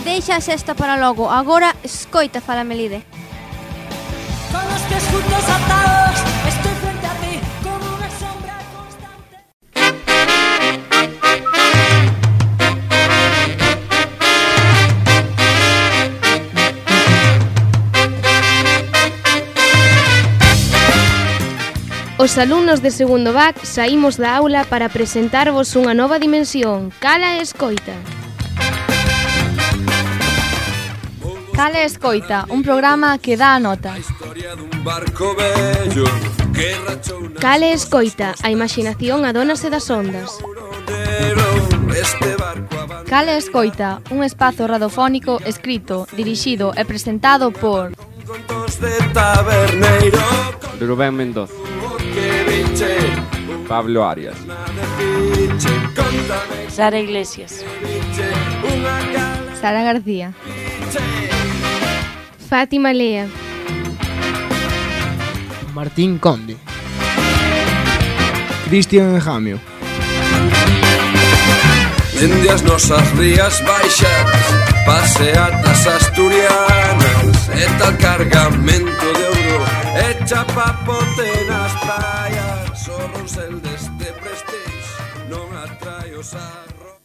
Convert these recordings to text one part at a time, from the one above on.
Deixa a sexta para logo, agora escoita, fala Melide. Con los pies juntos atados, estoy frente a ti como una sombra constante. Os alumnos de segundo BAC saímos da aula para presentarvos unha nova dimensión, Cala e Escoita. Cala e Escoita, un programa que dá a nota. Cala e Escoita, a imaginación adónase das ondas. Cala e Escoita, un espazo radiofónico escrito, dirixido e presentado por Rubén Mendoza, Pablo Arias, Sara Iglesias, Sara García, Fátima Lea, Martín Conde, Cristian Enjamio. Dende as nosas rías baixas, paseatas asturianas, e tal cargamento de ouro, e chapapote nas praias, só ronsel deste prestige, non atrae os arroz.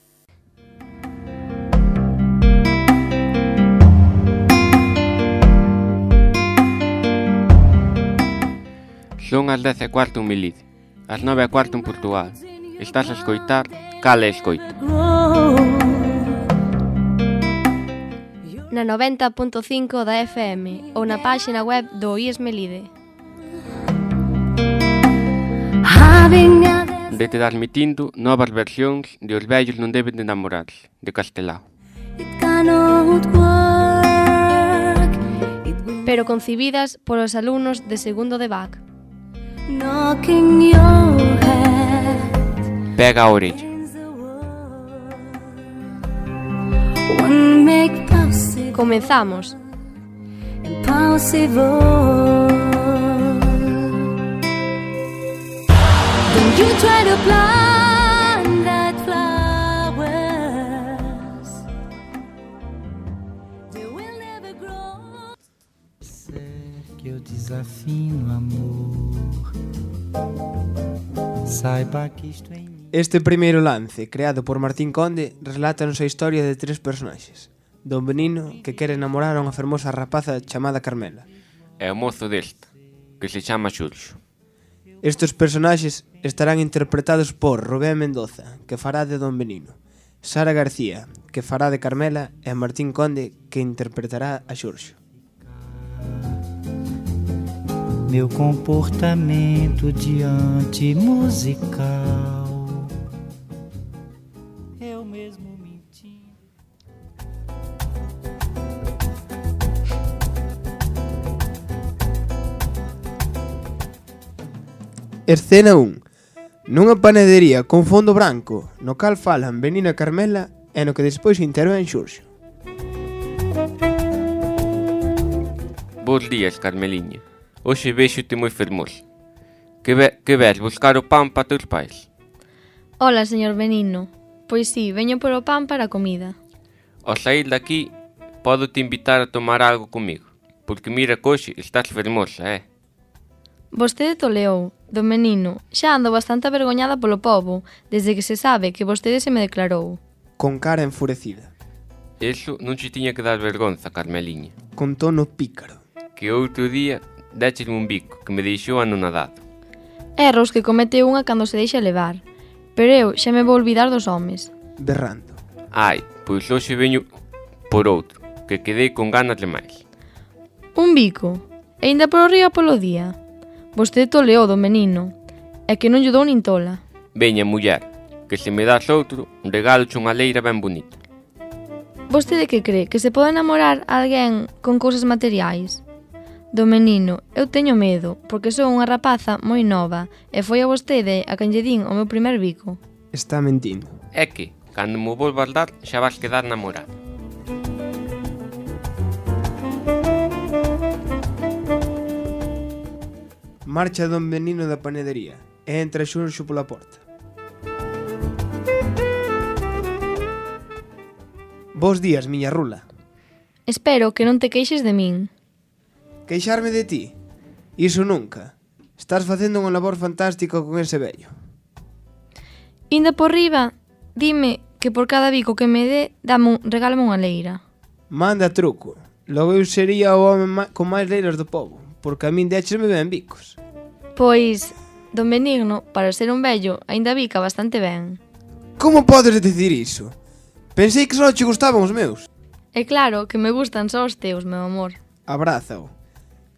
Son as 10:15 en Melide, as 9:15 en Portugal. Estás a escoitar Cala e Escoita. na 90.5 da FM ou na páxina web do IES Melide. Dete transmitindo novas versións de Os vellos non deben de namorarse, de Castelao. Pero concibidas polos alumnos de segundo de BAC. Pega a orella. Comenzamos. Don't you try to plant that flowers, they will never grow. Que eu desafino amor. Saiba que isto é. Este primeiro lance, creado por Martín Conde, relátanos a historia de tres personaxes. Don Benino, que quere enamorar a unha fermosa rapaza chamada Carmela. É o mozo desta, que se chama Xurxo. Estes personaxes estarán interpretados por Rubén Mendoza, que fará de Don Benino, Sara García, que fará de Carmela, e Martín Conde, que interpretará a Xurxo. Meu comportamento diante musical. Eu mesmo menti. Escena 1. Nunha panadería con fondo branco, no cal falan Benino e Carmela e no que despois intervén Xurxo. Bos días, Carmeliña. Hoxe véxote moi fermosa. Que ves, buscar o pan para teus pais? Hola, señor Benino. Pois sí, veño por o pan para a comida. Ao sair daqui, podo te invitar a tomar algo comigo, porque mira que hoxe estás fermosa, Vostede toleou, don Benino. Xa ando bastante avergoñada polo pobo, desde que se sabe que vostede se me declarou. Con cara enfurecida. Eso non che tiña que dar vergonza, Carmeliña. Con tono pícaro. Que outro día déchesme un bico que me deixou anonadado. Erros que comete unha cando se deixa levar. Pero eu xa me vou olvidar dos homes. Berrando. Ai, pois hoxe veño por outro, que quedei con ganas de máis. Un bico? E ainda por arriba polo día? Vostede toleou, don Benino. É que non lle dou nin tola. Veña, muller, que se me das outro, regaloche unha leira ben bonita. Vostede que cree? Que se pode enamorar a alguén con cousas materiais? Don Benino, eu teño medo, porque sou unha rapaza moi nova e foi a vostede a quen lle din o meu primer bico. Está mentindo. É que, cando me volvas dar, xa vas quedar namorada. Marcha Don Benino da panadería. e entra Xunxo pola porta. Bos días, miña rula. Espero que non te queixes de min. Queixarme de ti? Iso nunca. Estás facendo unha labor fantástica con ese vello. Inda por riba, dime que por cada bico que me dé, regálame unha leira. Manda truco. Logo eu sería o home con máis leiras do pobo, porque a min déchesme ben bicos. Pois, don Benigno, para ser un vello, aínda bica bastante ben. Como podes dicir iso? Pensei que só che gustaban os meus. É claro que me gustan só os teus, meu amor. Abrázao.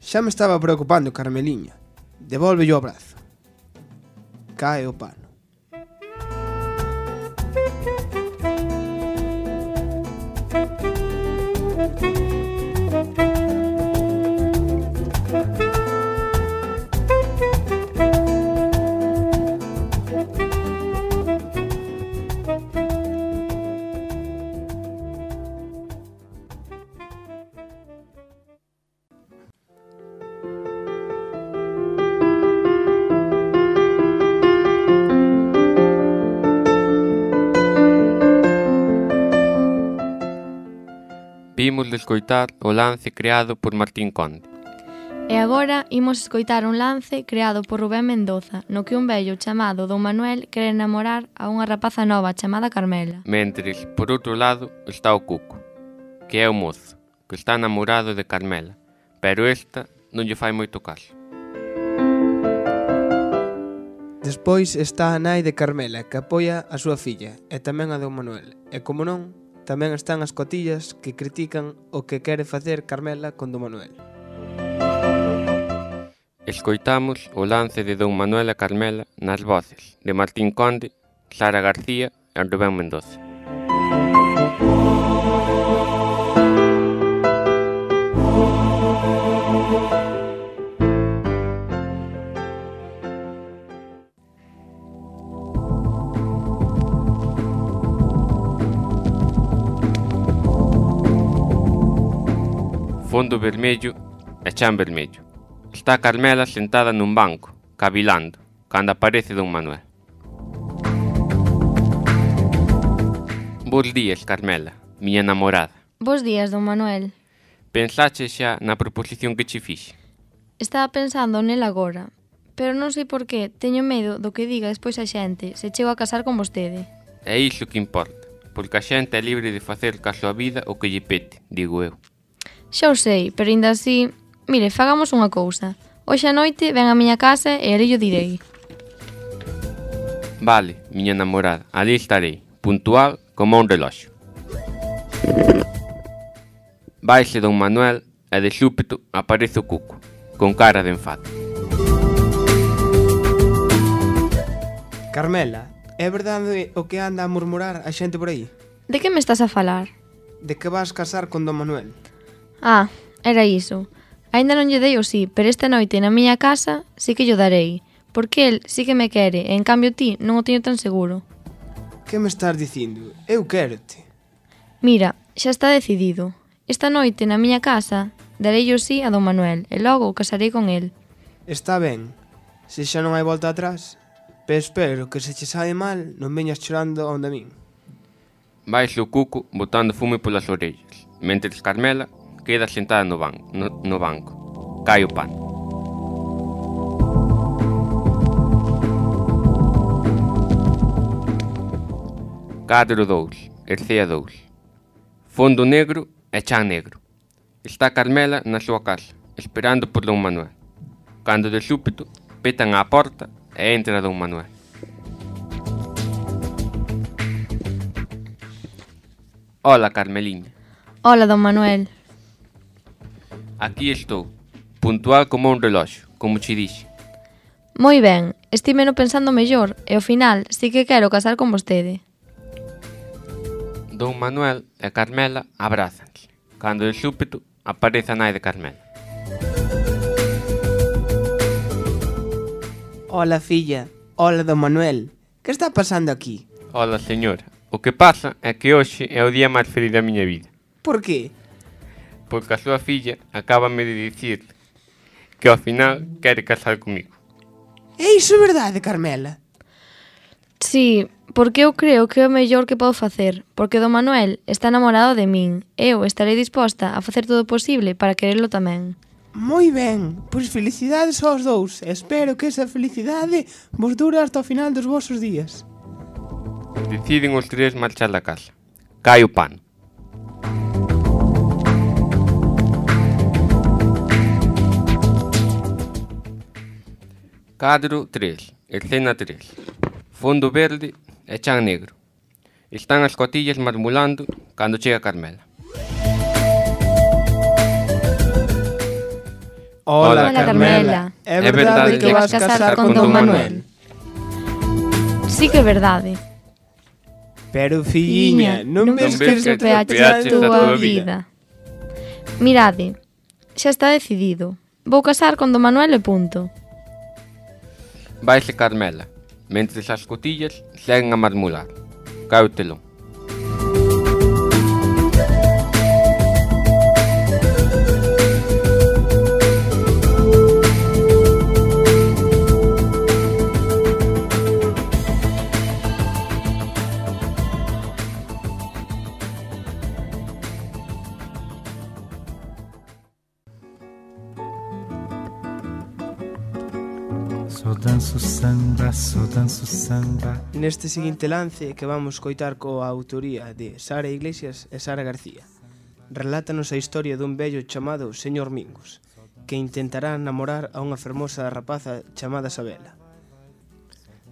Xa me estaba preocupando, Carmeliña. Devolve o abrazo. Cae o pano. Vimos de escoitar o lance creado por Martín Conde. E agora imos escoitar un lance creado por Rubén Mendoza, no que un vello chamado Don Manuel quere enamorar a unha rapaza nova chamada Carmela. Mentres, por outro lado, está o Cuco, que é o mozo, que está namorado de Carmela, pero esta non lle fai moito caso. Despois está a nai de Carmela, que apoia a súa filla, e tamén a Don Manuel. E como non, tamén están as cotillas que critican o que quere facer Carmela con Don Manuel. Escoitamos o lance de Don Manuel e Carmela nas voces de Martín Conde, Sara García e Rubén Mendoza. Fondo vermello e chan vermello. Está Carmela sentada nun banco, cavilando, cando aparece Don Manuel. Bos días, Carmela, miña namorada. Bos días, don Manuel. Pensache xa na proposición que che fixe? Estaba pensando nela agora, pero non sei por qué teño medo do que diga despois a xente se chego a casar con vostede. É iso que importa, porque a xente é libre de facer ca súa vida o que lle pete, digo eu. Xa o sei, pero ainda así... Mire, fagamos unha cousa. Hoxe a noite ven á miña casa e ali yo direi. Vale, miña namorada, ali estarei, puntual como un reloxo. Vaise Don Manuel e de súpeto aparece o Cuco, con cara de enfado. Carmela, é verdade o que anda a murmurar a xente por aí? De que me estás a falar? De que vas casar con Don Manuel? Ah, era iso. Aínda non lle dei o sí, pero esta noite na miña casa sí que lle darei, porque el sí que me quere, e en cambio ti non o teño tan seguro. Que me estás dicindo? Eu quérote. Mira, xa está decidido. Esta noite na miña casa darei o sí a Don Manuel e logo casarei con el. Está ben, se xa non hai volta atrás, pero espero que se che sabe mal non veñas chorando onde a min. Vaise o Cuco botando fume polas orellas, mentres Carmela queda sentada no banco. Cae o pano. Cadro 2, Ercea 2. Fondo negro e chan negro. Está Carmela na súa casa, esperando por Don Manuel. Cando de súpeto petan á porta e entra Don Manuel. Hola, Carmeliña. Hola, Don Manuel. Aquí estou, puntual como un reloxo, como che dixe. Moi ben, estímeno pensando mellor e ao final sí que quero casar con vostede. Don Manuel e Carmela abrázanse. Cando de súpeto aparece a nai de Carmela. Hola, filla. Hola, Don Manuel. Que está pasando aquí? Hola, señora. O que pasa é que hoxe é o día máis feliz da miña vida. Por qué? Porque a súa filla acábame de dicir que ao final quere casar comigo. É iso verdade, Carmela? Sí, porque eu creo que é o mellor que podo facer, porque Don Manuel está enamorado de min. Eu estarei disposta a facer todo o posible para quererlo tamén. Moi ben, pois felicidades aos dous. Espero que esa felicidade vos dure hasta o final dos vosos días. Deciden os tres marchar da casa. Cae o pano. Cadro 3, escena 3. Fondo verde e chan negro. Están as cotillas marmulando cando chega Carmela. Hola, Carmela. É verdade que vas casar con Don Manuel? Sí que é verdade. Pero, filliña, non ves que que peaches peaches a a túa túa vida. Mirade, xa está decidido. Vou casar con Don Manuel e punto. Vaise Carmela, mentres as cotillas seguen a marmular. Cae o telón. Só danço samba. Neste seguinte lance que vamos coitar coa autoría de Sara Iglesias e Sara García, relátanos a historia dun vello chamado Señor Mingos, que intentará namorar a unha fermosa rapaza chamada Sabela.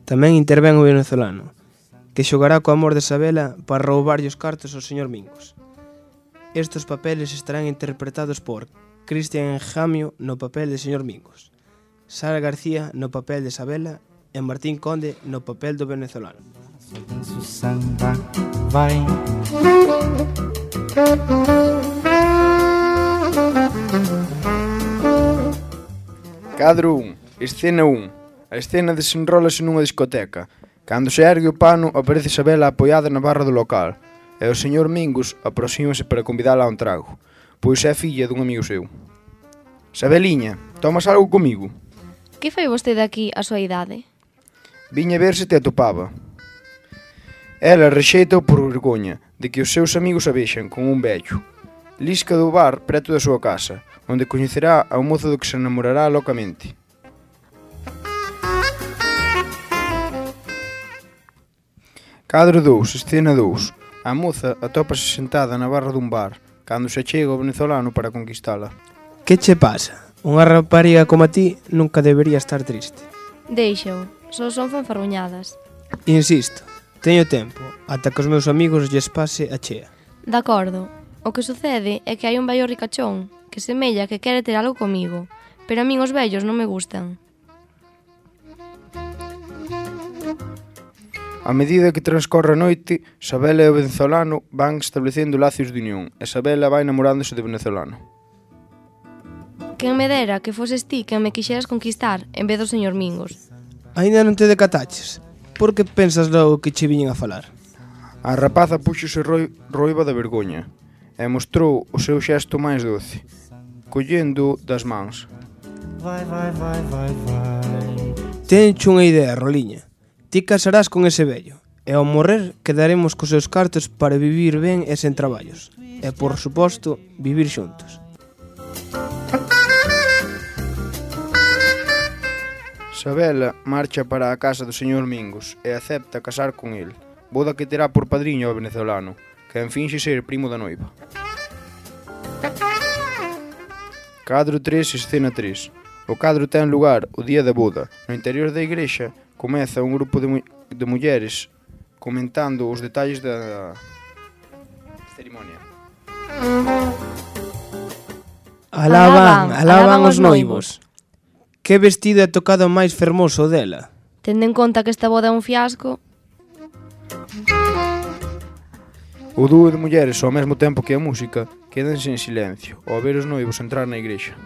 Tamén intervén o venezolano, que xogará co amor de Sabela para roubarlle os cartos ao Señor Mingos. Estes papeles estarán interpretados por Cristian Enjamio no papel de Señor Mingos, Sara García no papel de Sabela e Martín Conde no papel do venezolano. Só danço samba, vai. Cadro 1, escena 1. A escena desenrólase nunha discoteca. Cando se ergue o pano, aparece Sabela apoiada na barra do local, e o señor Mingos aproxímase para convidala a un trago, pois é filla dun amigo seu. Sabeliña, tomas algo comigo? Que fai vostede aquí a súa idade? Viña ver se te atopaba. Ela rexeita por vergoña de que os seus amigos a vexan con un vello. Lisca do bar preto da súa casa, onde coñecerá ao mozo do que se enamorará locamente. Cadro 2, escena 2. A moza atópase sentada na barra dun bar, cando se achega o venezolano para conquistala. Que che pasa? Unha rapariga como a ti nunca debería estar triste. Deixao, só son fanfarroñadas. Insisto, teño tempo, ata que os meus amigos lles pase a chea. De acordo, o que sucede é que hai un vello ricachón que semella que quere ter algo comigo, pero a min os vellos non me gustan. A medida que transcorre a noite, Sabela e o venezolano van establecendo lacios de unión, e Sabela vai namorándose de venezolano. Quen me dera que foses ti quen me quixeras conquistar en vez do señor Mingos. Aínda non te decataches? Por que pensas logo que che viñen a falar? A rapaza puxose roiva da vergoña e mostrou o seu xesto máis doce, collendo das mans. Vai. Tencho unha idea, Roliña. Ti casarás con ese vello, e ao morrer quedaremos cos seus cartos para vivir ben e sen traballos. E, por suposto, vivir xuntos. Sabela marcha para a casa do señor Mingos e acepta casar con el, boda que terá por padriño ao venezolano, que finxe ser primo da noiva. Cadro 3, escena 3. O cadro ten lugar o día da boda. No interior da igrexa comeza un grupo de mulleres comentando os detalles da cerimonia. Alaban os noivos. Que vestido é tocado máis fermoso dela? Tendo en conta que esta boda é un fiasco. O dúo de mulleres ao mesmo tempo que a música quedanse en silencio ao ver os noivos entrar na igrexa.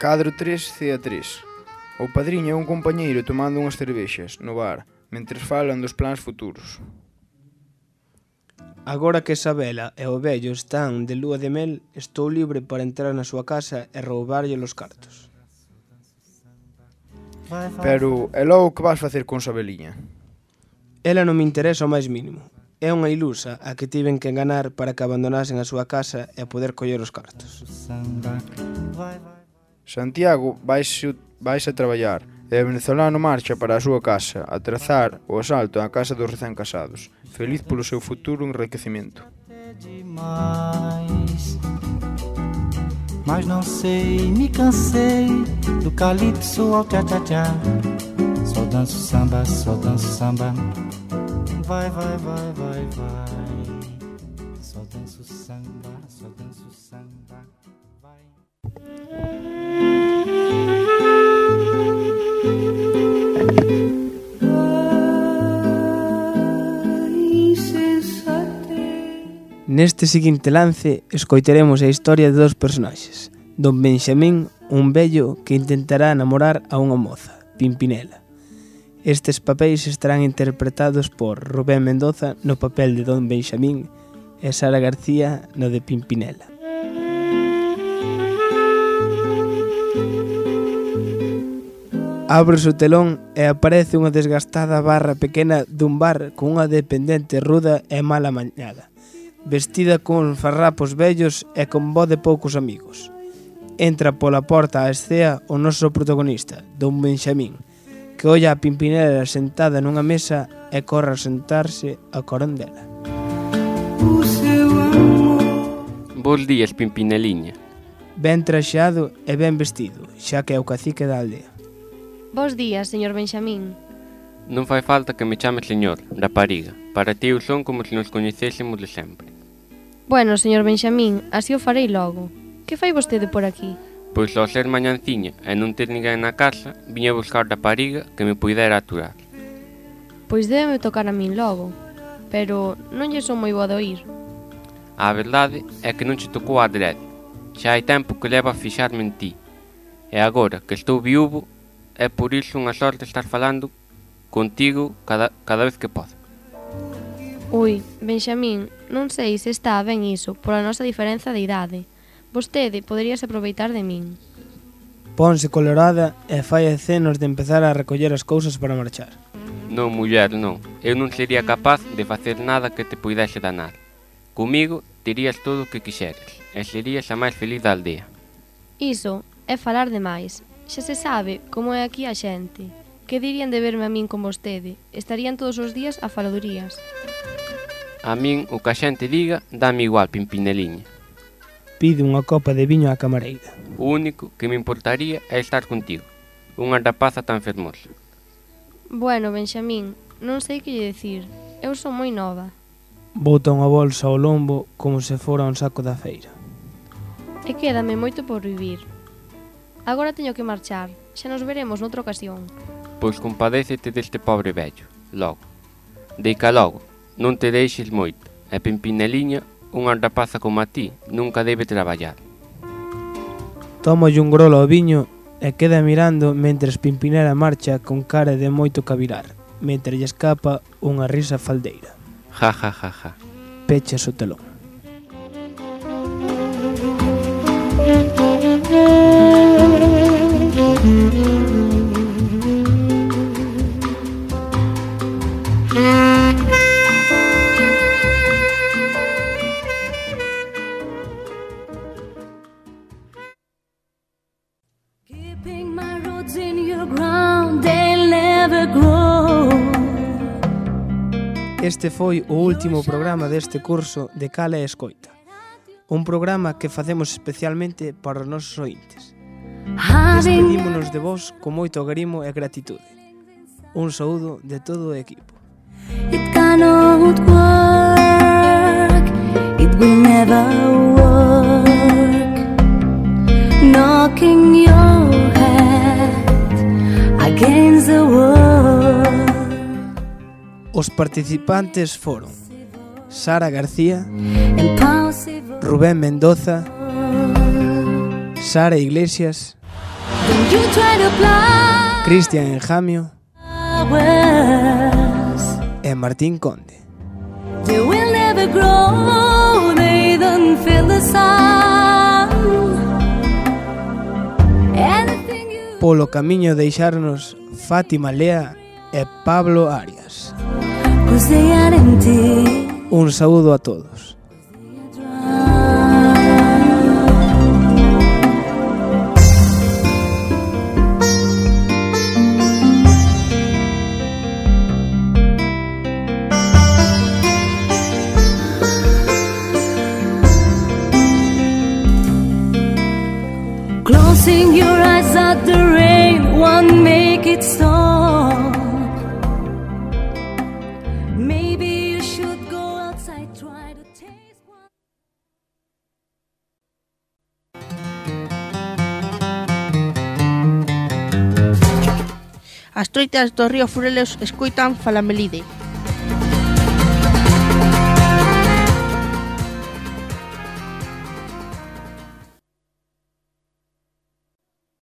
Cadro 3, cea 3. O padriño é un compañeiro tomando unhas cervexas no bar, mentres falan dos plans futuros. Agora que Isabela e o vello están de lúa de mel, estou libre para entrar na súa casa e roubarlle os cartos. Pero, e logo que vas facer con Sabeliña? Ela non me interesa o máis mínimo. É unha ilusa a que tiven que enganar para que abandonasen a súa casa e poder coller os cartos. Santiago vais a traballar e o venezolano marcha para a súa casa a trazar o asalto á casa dos recén casados, feliz polo seu futuro enriquecimento. Mas não sei, me cansei do calypso ao tchá-tchá-tchá. Só danço samba, só danço samba. Vai, vai, vai, vai, vai. Só danço samba, só danço samba. Vai. Neste seguinte lance, escoitaremos a historia de dos personaxes. Don Benxamín, un vello que intentará namorar a unha moza, Pimpinela. Estes papéis estarán interpretados por Rubén Mendoza no papel de Don Benxamín e Sara García no de Pimpinela. Abre o telón e aparece unha desgastada barra pequena dun bar con unha dependente ruda e mal amañada, vestida con farrapos vellos e con voz de poucos amigos. Entra pola porta á escea o noso protagonista, Don Benxamín, que olla a Pimpinela sentada nunha mesa e corre a sentarse a corón dela. Bos días, Pimpineliña. Ben traxado e ben vestido, xa que é o cacique da aldea. Bos días, señor Benxamín. Non fai falta que me chame señor, rapariga. Para ti eu son como se nos coñecésemos de sempre. Bueno, señor Benxamín, así o farei logo. Que fai vostede por aquí? Pois ao ser mañanciña e non ter ninguén na casa, viña buscar rapariga que me puidera aturar. Pois débeme tocar a min logo, pero non lle son moi boa de oír. A verdade é que non che tocou a adrede. Xa hai tempo que levo a fixarme en ti. E agora que estou viúvo, é por iso unha sorte estar falando contigo cada vez que podo. Ui, Benxamín, non sei se está ben iso, pola nosa diferenza de idade. Vostede poderíase aproveitar de min. Ponse colorada e fai acenos de empezar a recoller as cousas para marchar. Non, muller, non. Eu non sería capaz de facer nada que te puidese danar. Comigo terías todo o que quixeres e serías a máis feliz da aldea. Iso é falar demais. Xa se sabe como é aquí a xente. Que dirían de verme a min con vostede? Estarían todos os días a faladurías. A min o que a xente diga dame igual, Pimpineliña. Pide unha copa de viño á camareira. O único que me importaría é estar contigo, unha rapaza tan fermosa. Bueno, Benxamín, non sei que lle dicir. Eu son moi nova. Bota unha bolsa ao lombo como se fora un saco da feira. E quédame moito por vivir. Agora teño que marchar. Xa nos veremos noutra ocasión. Pois compadécete deste pobre vello, logo. Deica logo, non te deixes moito. E Pimpineliña, unha rapaza como a ti, nunca debe traballar. Tómolle un grolo ao viño e queda mirando mentres Pimpinela marcha con cara de moito cavilar, mentre lle escapa unha risa faldeira. Ja, ja, ja, ja. Pechas o telón. Keeping my roots in your ground, they'll never grow. Este foi o último programa deste curso de Cala e Escoita. Un programa que facemos especialmente para os nosos ointes. Despedímonos de vos con moito agrimo e gratitude. Un saúdo de todo o equipo. It cannot work, it will never work. Knocking your head against the wall. Os participantes foron Sara García, Rubén Mendoza, Sara Iglesias, Cristian Enjamio e Martín Conde. They will never never grow, they don't feel the sun. Anything you Polo camiño deixarnos Fátima Lea e Pablo Arias. 'cause they are empty. Un saúdo a todos. Closing your eyes at the rain won't make it stop. Maybe you should go outside, try to taste one. As troitas do río Furelos escoitan Falamelide.